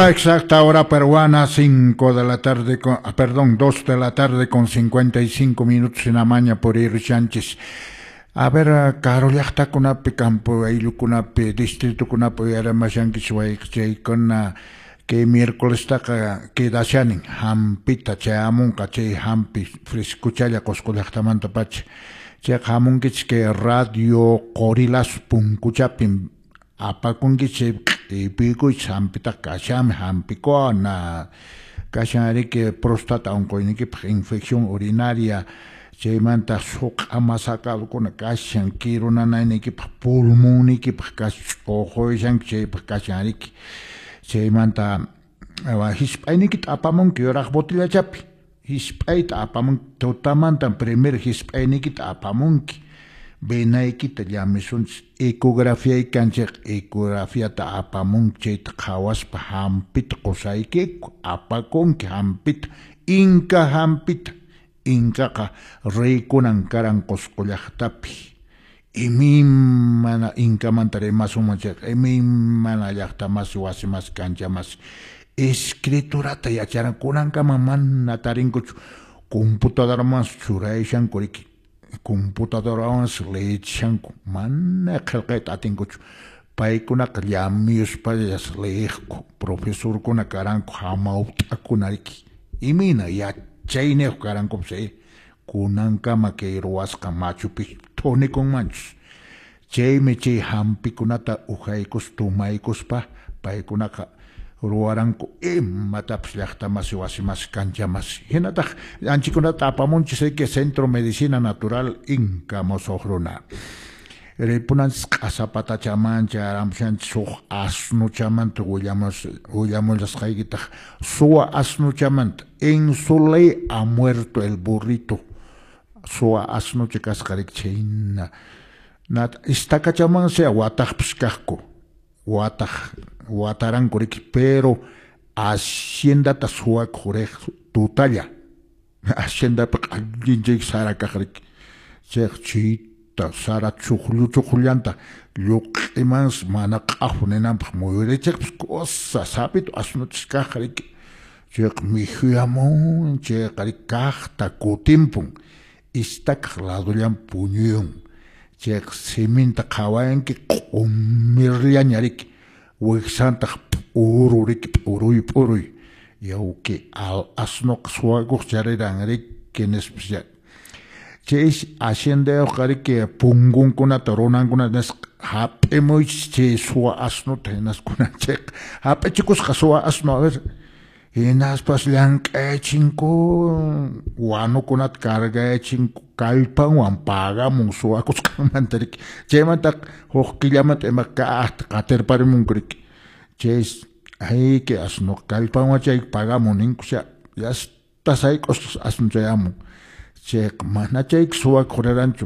Hora exacta, hora peruana, 5 de la tarde, con, perdón, 2 de la tarde con 55 minutos en Amaña por Ir Sánchez. A ver, karu llaqtakunapi, campo ayllukunapi, distritukunapi uyaramashankichik wayqichaykuna, kay miércolestaqa quedashanin hampita chayamunqa chay hampi frescuchalla Qusqu llaqtamantapacha. Chayqa hamunkichik kay radio Qorilazo punkuchapim apakunkichik q'ipiykuychik hampitaqa kashanmi hampikuna, kashan riki prostata unquyniykipaq infección urinaria, chaymanta suq'a masakadukuna kashan kiru nanayniykipaq pulmonniykipaq kashan ch'uquyashanki chaypaq kashan riki. Chaymanta hisp'ayniykita apamunki yuraq botillachapi, hisp'ayta apamunki tutamantan primer hisp'ayniykita apamunki, venaykita llamisunchis, ecografía kanchik ecografiata apamunki chayta qhawaspa hampita qusaykiku, apakunki hampita, inka hampita, inkaqa reykunan karan Qusqu llaqtapi. Imaymana inkamanta rimasunman chayqa imaymana llaqta masi, wasi masi, kancha masi, escriturata yacharan kunankama mana tarinkuchu, computadoramansi churayashanku riki, computadorawansi leyechishanku, mana qillqayta atinkuchu, paykunaqa llamiyuspallas leyiqku, profesorkuna karanku hamawt'akuna riki, imayna yachayniyuq karankupas kunankama kay ruwasqa Machu Picchu thunikunmanchus. Chaymi chay hampikunata uhaykus tumaykuspa paykunaqa ruwaranku imatapas llaqta masi, wasi masi, kancha masi. Hinataq anchikunata apamunchis riki Centro Medicina Natural Inka musuq runa. Ripunanchis q'asapatachaman chayaramushanchis huk asnuchamanta willamullasqaykitaq suwa asnuchamanta. En su ley ha muerto el burrito. Suwa asnucha kasqa riki chhayna. Istakachamansi wataqpas kaqku, wataq wataranku riki, pero haciendata suwakuq riq tutalla, haciendapiqa allin chay sara kaq riki, chayqa chayta sara chuqllu chuqlullanta lluq'imansi mana q'afu ninanpaq muyurichiqpas kusa sapito asnuchis kaq riki, chayqa mikhuyamun chayqa riki kaqta kutimpun, istakaq ladullanpi puñuyun, chayqa siminta qhawayanki q'umirllaña riki, wiksantaq p'uru riki, p'uruy p'uruy, yawki al asnuqa suwakuq chariran riki nispas. Chaysi haciendayuqqa riki punkunkunata runankunata nisqa hap'imuychis chay suwa asnuta hinaspa kunan chayqa hap'ichikusqa suwa asnu a ver, hinaspas llank'ayachinku wanukunata cargayachinku kallpanwan pagamun suwakusqanmanta riki, chaymantaqa huk killamanta ima kaqta qatirparimunku riki, chaysi ayki asnuqa kallpanwan chay pagamun ninkusha yasta sayk'usqas asnu chayamun, chayqa mana chayqa suwakuq riranchu,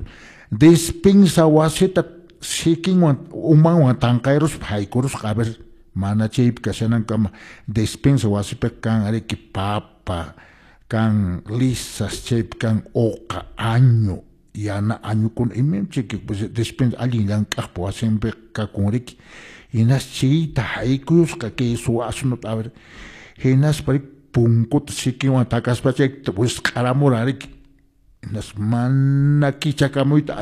despensa wasita sikinwan umanwan tanqayruspa haykurusqa a ver mana chaypi kashanankama despensa wasipiqa kan riki papa, kan lisas, chaypi kan uqa, añu, yana añukuna imam chayki despensa allin llank'aqpa wasinpiqa kakun riki, hinas chayta haykuyusqa kay suwa asnuta a ver, hinaspa riki punkuta sikinwan takaspa chayta wisq'aramuran riki, hinas mana kichakamuyta.